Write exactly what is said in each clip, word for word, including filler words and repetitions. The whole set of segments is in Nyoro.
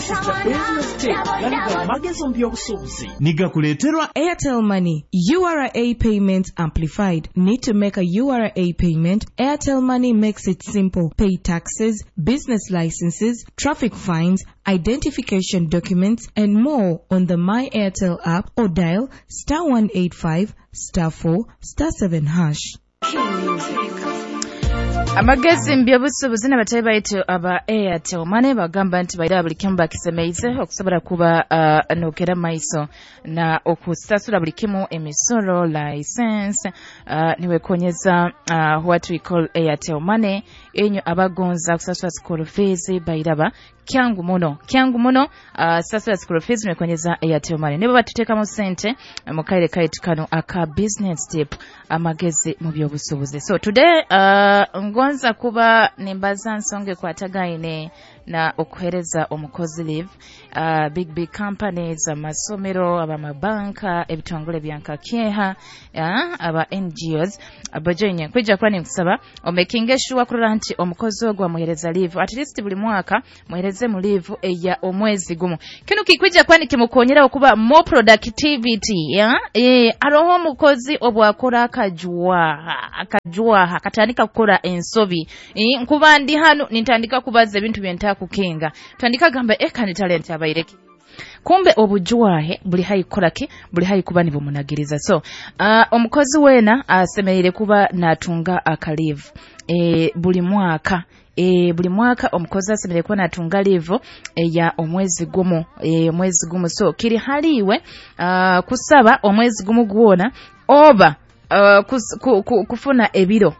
This is the business tip. Gano magezi mu by'obusuubuzi. Nigakuleeterwa Airtel Money, U R A payments amplified. Need to make a U R A payment? Airtel Money makes it simple. Pay taxes, business licenses, traffic fines, identification documents, and more on the My Airtel app or dial star one eight five star four star seven hash. Amagezi mu by'obusuubuzi n'abatali baitu aba Airtel Money bagamba nti baira buli kimu bakisemeize okusobola kuba uh, nokera maiso na okusasula buli kimu, emisoro, license, uh, niwekonyeza uh, what we call Airtel Money. Enyo abagonza kusasula school fees, bairaba kyangu muno, kyangu muno. uh, sasula school fees niwekonyeza Airtel Money. Nibo batuteekamu sente mu kaire kaitu kano aka business tip, amagezi mu by'obusuubuzi. So today uh, ngonza kuba nimbaza nsonga ekwatagaine na okuhereza omukozi leave. uh, big big companies, amasomero, abamabanka, ebitongole byankakyeha, uh, aba N G Os abajoinye kwijja kuba ninkusaba omakinge sure kurora nti omukozi ogwo amuhereza leave at least buli mwaka, muhereze mu leave eya omwezi gumu. Kino kikwijja kuba nikimukonyera okuba more productivity, yeah? E, aroho omukozi obwakora akajwaha, akajwaha akatandika kukora ensobi. e, nkuba ndi hano nintandika kubaza ebintu byentakukenga, tandika gamba eka ni talent abaireki, kumbe obujwahe buli hayi kukoraki, buli hayi kuba nibumunagiriza. So uh, omukozi wena asemereire kuba natunga aka leave e, buli mwaka. E, buli mwaka omukozi asemereire kuba natunga leave eya omwezi gumu, e, omwezi gumu. So kiri haliwe uh, kusaba omwezi gumu gwona oba uh, kus, ku, ku, kufuna ebiro,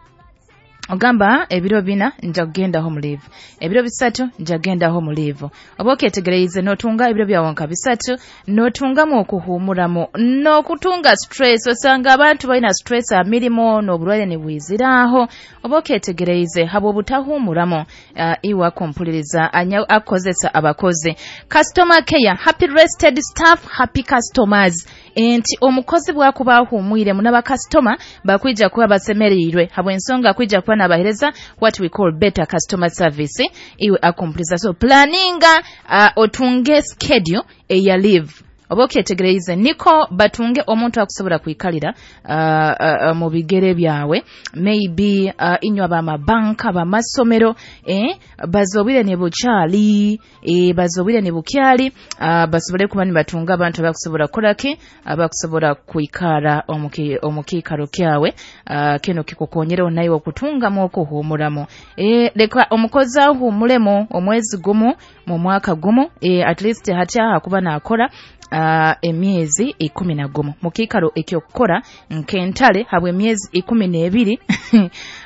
ogamba ebiro bina nja kugendaho mu leave, ebiro bisatu nja kugendaho mu leave. Oba okyetegereize n'otunga ebiro byawe nka bisatu, n'otungamu okuhuumuramu n'okutunga stress. Osanga abantu balina stress amirimo n'obulwaire nibwiziraaho. Oba okyetegereize habwe obutahuumuramu. uh, iwe akumpuliriza anya akozesa abakozi, customer care, happy rested staff, happy customers, nti omukozi bwakuba ahuumwiremu n'abakasitoma bakwija kuba basemereirwe habw'ensonga akwija kuba nabahereza what we call better customer service. Iwe akumpuliriza, so planninga uh, otunge schedule eya leave. Oba okyetegereize niko batunge omuntu akusobola kwikalira uh, uh, mu bigere byawe. Maybe uh, inywe abamabanka, abamasomero, eh, bazobwire ne bukyali, eh, bazobwire ne bukyali, uh, basobole kuba nibatunga abantu abakusobola kukolaki, abakusobola kwikara omuki- omukiikaro kyawe. uh, kino kikukonyera nawe okutungamu okuhuumuramu. eh, leka omukozi ahuumulemu omwezi gumu mu mwaka gumu. eh, at least hati aha kuba nakora uh, emyezi ikumi na gumu mu kiikaro ekyokukora nk'entale habwa emyezi ikumi n'ebiri.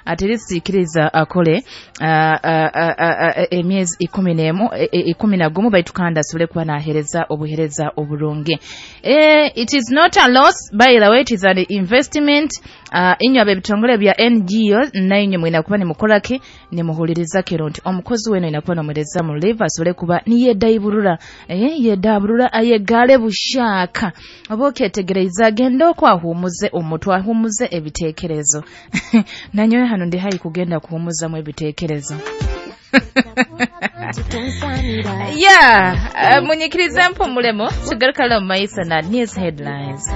At least ikiriza akole uh, uh, uh, uh, emyezi ikumi n'emu, e- e- ikumi na gumu, baitu kandi asobole kuba nahereza obuhereza oburungi. eh, it is not a loss, by the way, it is an investment. uh, inywe ab'ebitongole bya N G O, nainywe mwina kuba nimukoraki, nimuhuliriza kero nti omukozi weno ina kuba nomuhereza mu leave asobole kuba niyedaiburura, eh, yedaburura ayegale bushaka. Oba okyetegereiza agende okwo ahuumuze omutwe, ahuumuze ebiteekerezo. Nanyowe hano ndi hayi kugenda kuhuumuzamu ebiteekerezo. Yeah, uh, munyikirize mpumulemu, tugarukale mu maiso na news headlines.